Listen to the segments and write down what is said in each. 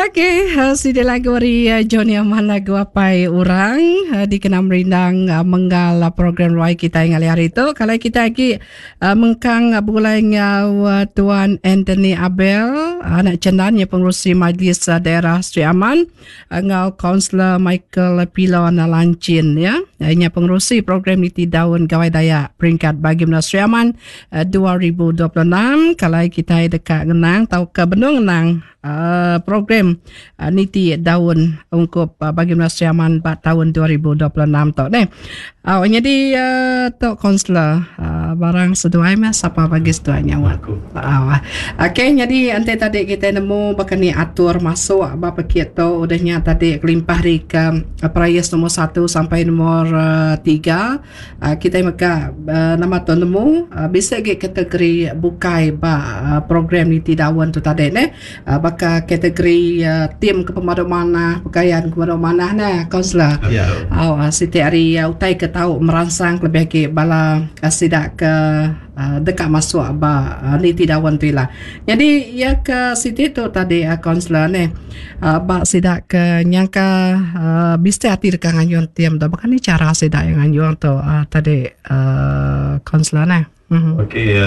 Okey, sidi lagu ari Johnny Aman lagu Apai Orang dikena merindang menggal program ruai kitai ngalih hari tu. Kalau kita agi mengkang begulai enggau Tuan Anthony Abel anak Chendan iya pengerusi Majlis Daerah Sri Aman enggau Kaunselor Michael Pilon Lanchin ya. Nya pengerusi program Niti Daun Gawai Dayak peringkat bagi menua Sri Aman 2026. Kalau kitai deka ngenang tauka benung ngenang program niti daun ungkup bagi menua Sri Aman ba taun 2026 tu neh. Au nyadi tu kaunselor barang seduai meh sapa bagi seduai nyaut. Au. Okey nyadi enti tadi kitai nemu baka ni atur masuk ba pekit tu udah nya tadi kelimpah ari ke perais nombor satu sampai nombor tiga Kitai mega nama tu nemu bisi agi kategori bukai ba program niti daun tu tadi neh. Baka kategori team ke pemadu manah, pekayan ke pemadu manah neh kaunselor. Au siti ari utai ke tau meransang kelebih agi bala sida ke deka masuk ba niti daun tu ila. Nyadi iya ke siti tu tadi kaunselor neh ba sida ke nyangka bisi ati deka nganjung team tu baka ni chara sida iya nganjung tu tadi kaunselor neh. Okey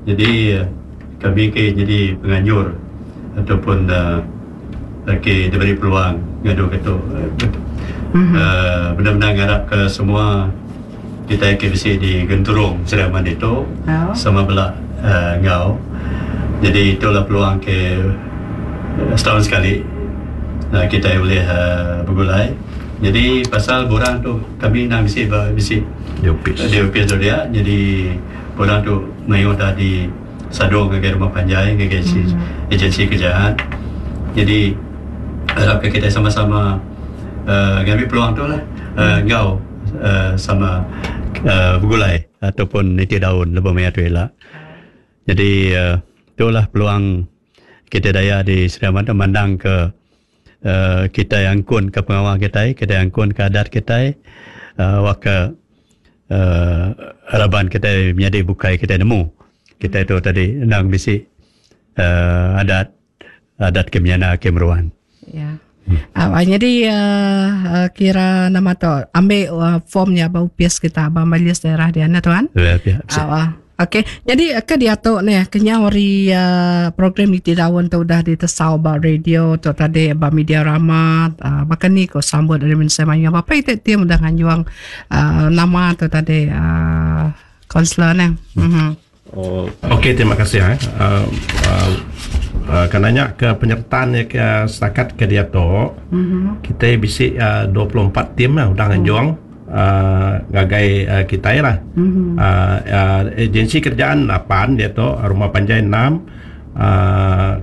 jadi kami ke nyadi penganjur ataupun ke diberi peluang ngadu ke tu benar-benar ngarap ke semua Kitai ke bisi di genturung Sri Aman ditu sama bela enggau. Jadi itulah peluang ke setaun sekali kitai ulih begulai. Jadi pasal borang tu kami endang bisi ba bisi di opis tu dia. Jadi borang tu mayuh dah di sadung ngagai rumah panjai ngagai agensi kerajaan. Jadi arap ke kitai sama-sama ngambi peluang tu lah enggau. sama begulai ataupun niti daun lebuh maya tu ila. Jadi itulah peluang kitai daya di Sri Aman tu mandang ke kitai angkun ke pengawa kitai, kitai angkun ke adat kitai wak ke raban kitai menyadi bukai kitai nemu kitai tu tadi endang bisi adat adat ke menyana ke meruan. Ya. Uh, jadi uh, kira nama tu ambil uh, form nya ba upis kita ba majlis daerah dia nah tuan. Ya, ya. Uh, Okey. Jadi ke diatu ni kenyau hari uh, program Niti Daun tu udah ditesau ba radio tu tadi ba media rama uh, baka ni ko sambut dari mensia mayuh. Bapa itu tim udah nganjuang uh, nama tu tadi uh, kaunselor ni. Mhm. Oh, okey terima kasih eh. Uh, uh, uh, kan nanya ke penyertaan ya ke setakat ke dia tu. Mm-hmm. Kita bisi uh, 24 tim lah udah nganjung mm. uh, ngagai uh, kita lah. Mm-hmm. Uh, uh, agensi kerjaan 8 dia tu, rumah panjai 6, uh,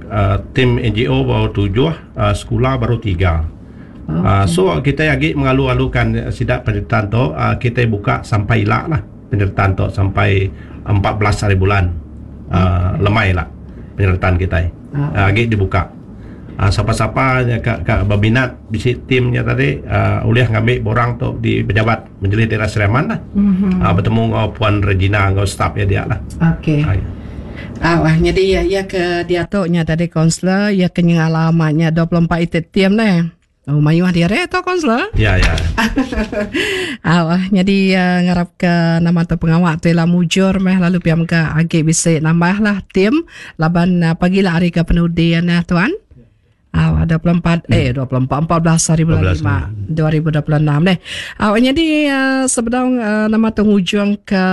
uh, tim NGO baru 7, uh, sekolah baru 3. Okay. Uh, so kita agi mengalu-alukan sida penyertaan tu, uh, kita buka sampai ila lah. Penyertaan tu sampai 14 hari bulan uh, lemai lah penyertaan kitai. Uh, agi dibuka. Uh, sapa-sapa nya ka, ka berminat bisi tim nya tadi uh, ulih ngambi borang tu di pejabat Majlis Daerah Sri Aman lah. Mm-hmm. Uh, bertemu enggau Puan Regina enggau staf iya dia lah. Okey. Uh, Ah, wah, jadi ya, ya ke diatu nya tadi kaunselor, ya ke nyengala amat nya 24 iti tim neh. Oh, mayuh diri tu kaunselor. Ya, ya. Au, nyadi uh, ngarap ke nama tu pengawa tu ila mujur meh lalu pia mega agi bisi nambah lah tim laban uh, pagi lah hari ke penudi ya tuan. Au, 24 eh 24 14 hari bulan 5 2026 deh. Au, nyadi uh, sebedau uh, nama tu ngujung ke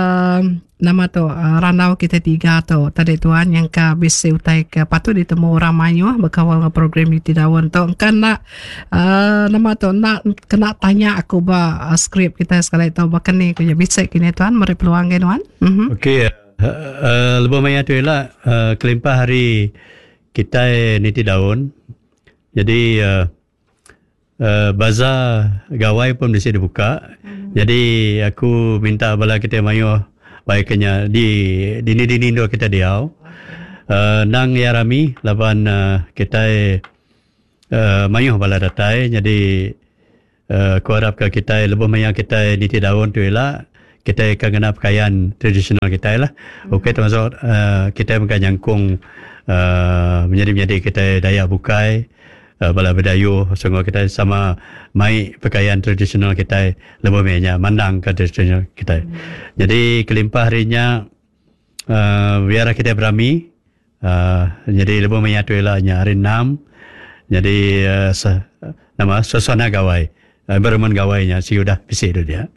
Nama tu randau kitai tiga tu tadi tuan nyangka bisi utai ke patut ditemu orang mayuh bekaul enggau program Niti Daun tu engka enda uhh nama tu enda kena tanya aku ba skrip kitai sekali tu baka ni ku iya bisi kini tuan meri peluang ngagai nuan. Uhh. Okey uhh lebuh maya tu ila uhh kelimpah ari kitai niti daun jadi uhh Bazaar gawai pun bisi dibuka. Jadi aku minta bala kitai mayuh bai ke nya di dini-dini endur kitai diau. Uhh endang iya rami laban kitai uhh mayuh bala datai jadi uhh aku arap ka kitai lebuh maya kitai niti daun tu ila kitai akan ngena pakaian tradisional kitai lah. Ukai termasuk uhh kitai mega nyangkung uhh menyadi-menyadi kitai Dayak bukai. Bala Bidayuh sungguh kitai sama mai pakaian tradisional kitai lebuh meh nya mandang ka tradisional kitai. Jadi kelimpah ari nya uhh biar kitai berami uhh nyadi lebuh maya tu ila nya hari enam nyadi uhh nama suasana gawai environment gawai nya sigi udah bisi tu dia.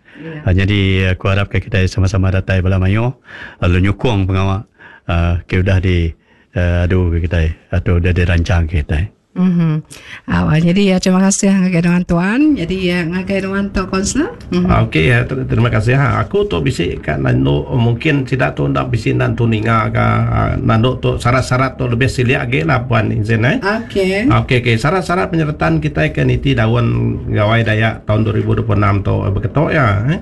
Nyadi aku arap ka kitai sama-sama datai bala mayuh lalu nyukung pengawa uhh ke udah di Adu ke kitai atau udah dirancang ke kitai. Mhm. Au jadi ya terima kasih ngagai nuan tuan. Jadi ya ngagai nuan tu kaunselor. Mhm. Okey ya terima kasih ha. Aku tu bisi ka nandu mungkin sida tu enda bisi nan tu ninga ka nandu tu syarat-syarat tu lebih silik agi lah puan izin eh. Okey. Okey okey syarat-syarat penyertaan kitai ke niti daun Gawai Dayak taun 2026 tu beketo ya eh.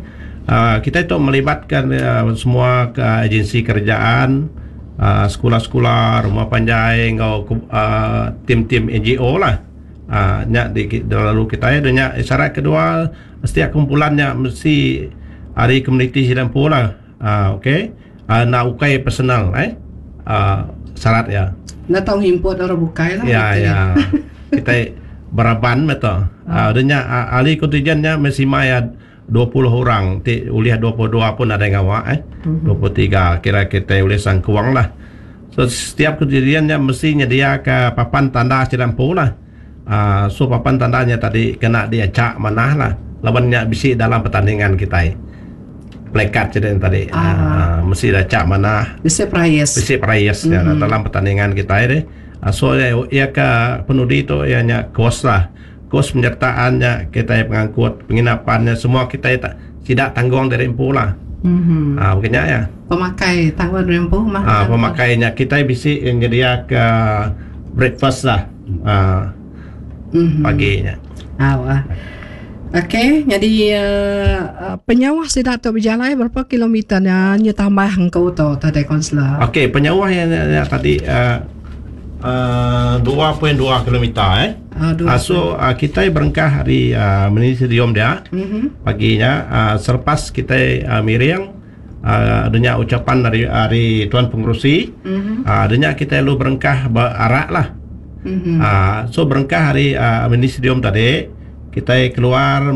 Kitai tu melibatkan semua agensi kerajaan Sekula-sekula, rumah panjai enggau tim-tim NGO lah. Nya di lalu kitai da nya syarat kedua setiap kumpulan nya mesti ari komuniti sida empu lah. Okey enda ukai personal eh syarat iya. Enda tau ngimput orang bukai lah. Ya ya kitai beraban meh tu. Da nya ahli kontinjen nya mesti mai 20 orang ti ulih 22 pun nadai ngawa eh. 23 kira kitai ulih sangkung lah. So setiap kejadian nya mesti nyediaka papan tanda sida empu lah. Aaa so papan tanda nya tadi kena diachak manah lah laban nya bisi dalam pertandingan kitai. Plekat sida nya tadi aaa mesti diachak manah. Bisi perais. Bisi perais nya dalam pertandingan kitai deh. So iya ke penudi tu iya nya kos lah. Kos penyertaan nya kitai pengangkut, penginapan nya semua kitai sida tanggung diri empu lah. Mm-hmm. Ha, bukan nya ya. Pemakai tanggung diri empu mah. Ha, pemakai nya kitai bisi nyedia ke breakfast lah. Ha, mm-hmm. pagi nya. Ha, wah. Okey, jadi uh, penyauh sida tu berjalai berapa kilometer nya nya tambah engkau tu tadi kaunselor. Okey, penyauh yang, yang tadi uh, uh, 2.2 kilometer eh. Uh, so uh, kitai berengkah ari uh, mini stadium dia mm-hmm. pagi nya uh, selepas kitai uh, miring uh, adanya ucapan dari ari tuan pengerusi mm-hmm. uh, adanya kitai lalu berengkah berarak lah mm-hmm. uh, so berengkah ari uh, mini stadium tadi kitai keluar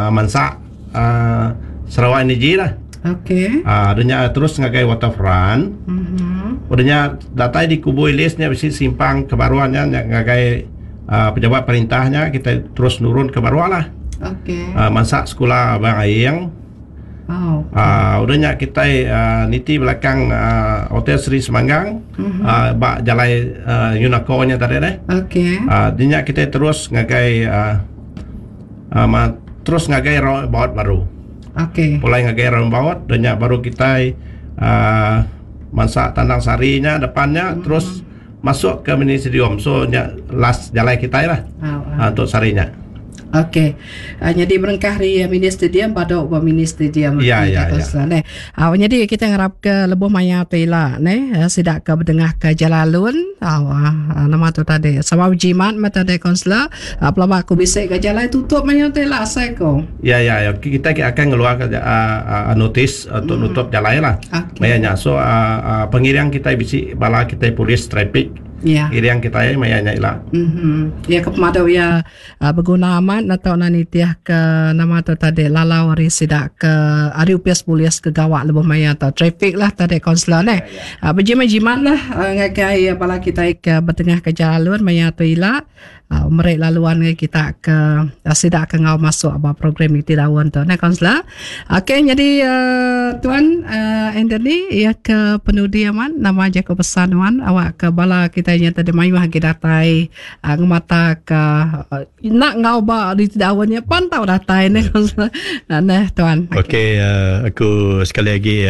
mansak uh, Sarawak Energy lah Okay. Uh, adanya terus ngagai waterfront. Mm-hmm. Udahnya datai di Kubu Ilis nya bisi simpang ke baruh nya ngagai uh, pejabat perintah nya kita terus nurun ke baruh lah. Okay. Uh, mansak sekolah Abang Aing. Oh. Uh, udah nya kita uh, niti belakang uh, Hotel Seri Semanggang mm-hmm. uh, ba jalai uh, Yunako nya tadi deh. Okay. Uh, nya kita terus ngagai uh, uh, terus ngagai roundabout baru. Okey. Pulai ngagai roundabout dah nya baru kitai uh, mansa Tandang Sari nya depan nya mm-hmm. terus masuk ke mini stadium. So nya last jalai kitai lah. Oh, uh. untuk sari nya. Okey. Uh, jadi berengkah hari mini stadium pada ba mini stadium. Ya ya ya. Neh. Uh, jadi kita ngarap ke lebuh maya tu ila neh uh, sida ke bedengah ke jalalun uh, nama tu tadi sama berjimat mata tadi kaunselor uh, pelaba aku bisi ke jalai tutup maya tu ila asai ko. Ya ya ya kita akan ngeluarkan uh, uh, notis untuk mm. nutup jalai lah. Okay. Maya nya so uh, uh, pengiring kita bisi bala kita polis trafik. Ya. Iring kita maya nya ila. Mhm. Ya ke pemadu ya Beguna amat enda tau enda nitih ke nama tu tadi lalau ari sida ke ari opis polis ke gawa lebuh maya tu trafik lah tadi kaunselor neh. Bejimat jimat lah ngagai bala kitai ke betengah ke jalun maya tu ila meri laluan ngagai kita ke sida ke enggau masuk ba program iti daun tu neh kaunselor. Okey nyadi tuan Anthony iya ke penudi amat nama jaku pesan nuan awak ke bala kitai nya tadi mayuh agi datai ngemata ka enda enggau ba di daun nya pan tau datai neh neh tuan. Okey aku sekali agi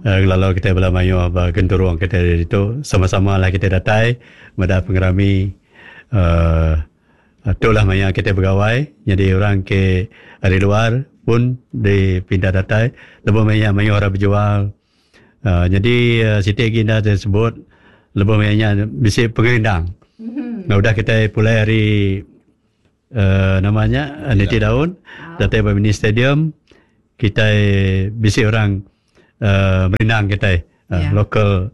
ngelalau kitai bala mayuh ba genturung kitai ditu sama-sama lah kitai datai meda pengerami uhh tu lah maya kitai begawai nyadi orang ke ari luar pun dipinta datai lebuh maya mayuh orang bejual. Uh, nyadi uh, siti agi enda disebut lebuh maya nya bisi pengerindang. Mm-hmm. Nah, udah kita pulai hari uh, nama nya niti daun datai ba mini stadium kita bisi orang uh, merindang kita uh, yeah. local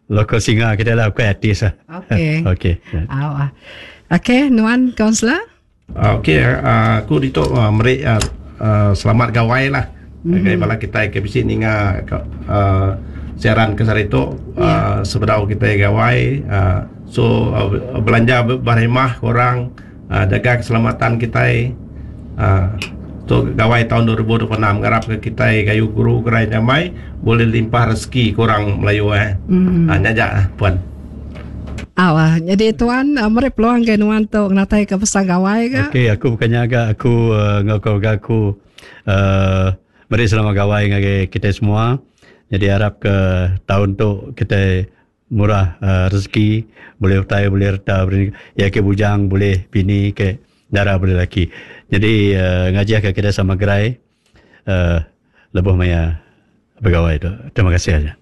local singer kita lah bukan artis lah. Okey. Okey. Ah. Okey, nuan kaunselor? Okey, aku ditu meri selamat gawai lah ngagai bala kitai ke bisi ninga siaran ke sehari tu sebedau kitai gawai so belanja berhemah orang jaga keselamatan kitai tu gawai taun 2026 ngarap ke kitai gayu guru gerai nyamai bulih limpah rezeki ku orang Melayu eh. Nya aja puan. Au ah nyadi tuan meri peluang ke nuan tu ngenatai ke pesan gawai ka. Okey aku bukan nya ga aku enggau keluarga aku uhh meri selamat gawai ngagai kitai semua nyadi arap ke taun tu kitai murah rezeki bulih utai bulih reta iya ke bujang bulih bini ke dara bulih laki nyadi ngajih ka kitai sama gerai uhh lebuh maya begawai tu. Terima kasih aja.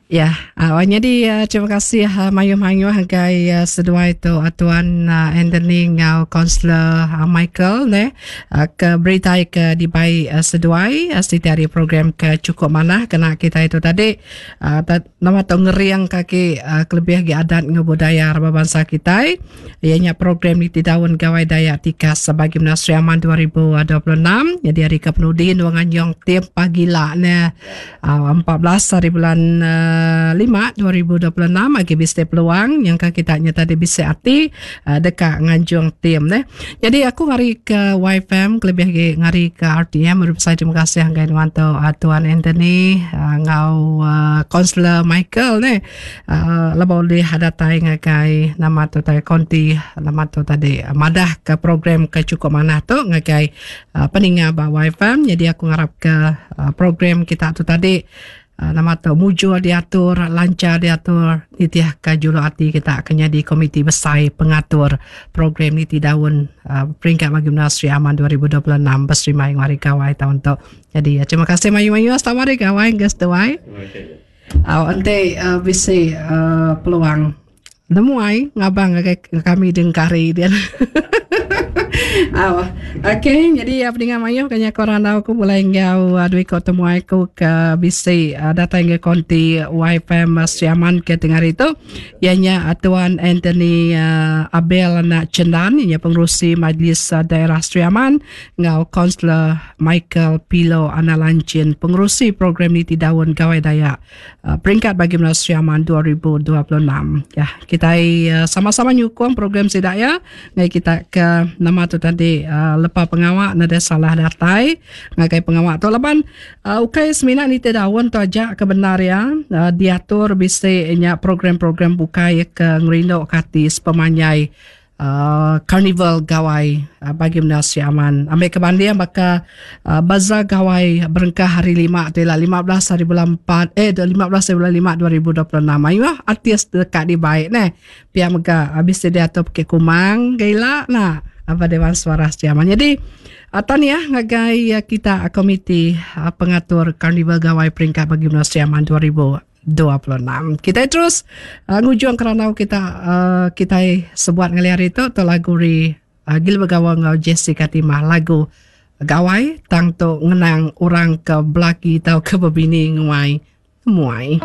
Ya, uh, nyadi uh, terima kasih uh, mayuh-mayuh ngagai uh, seduai tu uh, Tuan uh, Anthony enggau Kaunselor uh, Michael ne uh, ke berita ke dibai uh, seduai uh, siti hari program ke cukup manah kena kita itu tadi uh, nama tu ngering kaki uh, kelebih agi adat enggau budaya raban bansa kitai iya nya program Niti Daun Gawai Dayak Tikas bagi Menua Sri Aman 2026 nyadi hari ke penudi nuang anjung tim pagila ne 14 hari bulan 5 2026 agi bisi peluang nyangka kita nya tadi bisi ati deka nganjung tim neh. Jadi aku ngari ke YFM kelebih agi ngari ke RTM meri besai terima kasih ngagai nuan tu Tuan Anthony enggau Kaunselor Michael neh lebuh ulih datai ngagai nama tu tadi konti nama tu tadi madah ke program ke chukup manah tu ngagai Peninga ba YFM nyadi aku ngarap ke program kita tu tadi nama tu mujur diatur lancar diatur nitih ke juluk ati kita ke nyadi komiti besai pengatur program niti daun peringkat bagi menua Sri Aman 2026 beserimai enggau hari gawai taun tu. Jadi terima kasih mayuh-mayuh selamat hari gawai enggau seduai. Au enti bisi peluang Nemuai ngabang ngagai kami dengkari din. Au. Okey, jadi peninggal mayuh kanya ko randau aku bulai enggau dua iko temuai aku ke bisi datai ngagai konti YFM Sri Aman ke tengah hari tu iya nya Tuan Anthony Abel anak Chendan iya nya pengerusi Majlis Daerah Sri Aman enggau Kaunselor Michael Pilo anak Lanchin pengerusi program Niti Daun Gawai Dayak Peringkat bagi menua Sri Aman 2026. Ya, kitai sama-sama nyukung program sida ya. Ngai kita ke nama tu tadi lepa pengawa nadai salah datai ngagai pengawa tu laban ukai semina nitih daun tu aja ke bendar ya diatur bisi nya program-program bukai ke ngerindu ke ati sepemanjai Karnival Gawai bagi menua Sri Aman. Ambil ke banding baka Bazaar Gawai berengkah hari lima tu ila 15 hari bulan 4 eh 15 hari bulan 5 2026. Mayuh artis deka dibai neh. Pia mega bisi diatur Bukit Kumang ga ila nah ba Dewan Suarah Sri Aman. Jadi tahniah ngagai kita komiti pengatur Karnival Gawai peringkat bagi menua Sri Aman 2026. 26. Kitai terus uh, ngujung kerandau kita uh, kitai sebuat ngali hari tu tu lagu ri uh, Gil Begawa enggau Jessica Timah lagu Gawai tang tu ngenang orang ke belaki tau ke bebini nguai muai.